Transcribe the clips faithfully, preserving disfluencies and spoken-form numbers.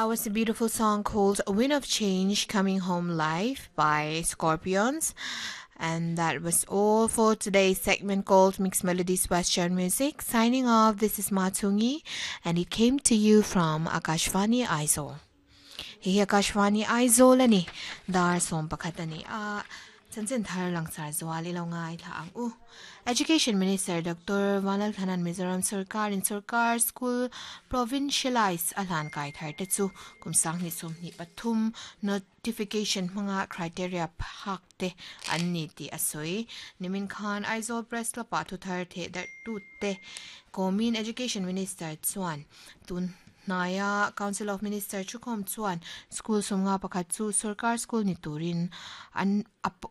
That was a beautiful song called Wind of Change Coming Home Live by Scorpions. And that was all for today's segment called Mixed Melodies Western Music. Signing off, this is Matungi, and it came to you from Akashvani Aizawl. Hi Akashvani Aizawl ani dar som pakhat ani a chanchin thar langsar zual ilo ngai thla ang u. Education Minister Doctor Vanlalthlana'n Mizoram Sarkar in Sarkar School Provincialize a hlan kai thar te chu kum sang ni sum ni pathum notification hmanga criteria phak te an ni ti asoi. Nimin khan Aizawl Press Club ah thu thar the dar tu te komin Education Minister chuan tun Naya Council of Minister chukhom chuan school sumnga pakhat chu Sarkar School ni turin an ap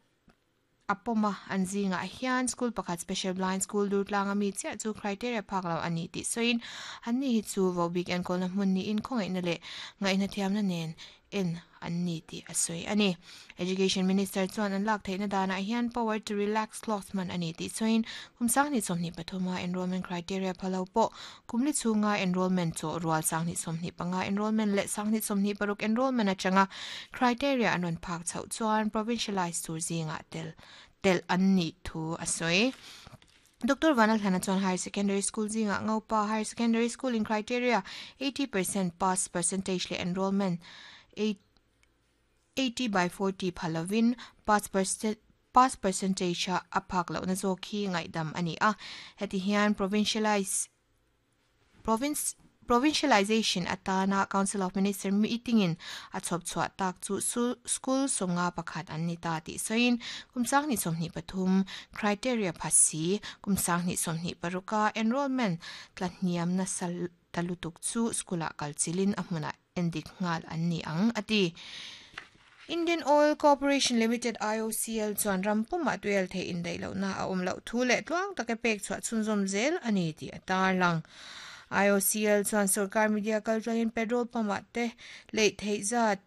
apoma an zinga hian school pakhat Special Blind School Durtlang ami chia chu criteria phak lo ani ti soin an ni hi chu vo big en kolna hmun ni in khongai na le ngai na thiam na nen en an ni ti asoi ani. Education Minister chuan an lak theina dana hian power to relax clause man ani ti soin kumsang ni somni pathuma enrollment criteria phalo po kumli chunga enrollment cho rual sang ni somni panga enrollment le sang ni somni paruk enrollment atanga criteria anon phak chau chuan provincialized tur zinga tel tel an ni thu asoi. Doctor Vanlalthlana chuan Higher Secondary School zinga Ngopa Higher Secondary School in criteria eighty percent pass percentage le enrollment eighty by forty phalovin pass percent pass percentage a aphak lo na zo khi ngai dam ani a. Heti hian provincialize province provincialization atana Council of Minister meeting in a chop chua tak chu school somnga pakhat an ni ta ti soin kumsang ni somni pathum criteria phasi kumsang ni somni paruka enrollment tlahniam na sal talutuk chu skula kalchilin ahmuna endik ngal an ni ang ati. Indian Oil Corporation Limited I O C L chuan rampuma tuel the in dei lo na a um lo thu le tluang take pek chua chunzom zel ani ti atar lang. I O C L chuan sarkar media kaltlangin petrol pump te lei thei zat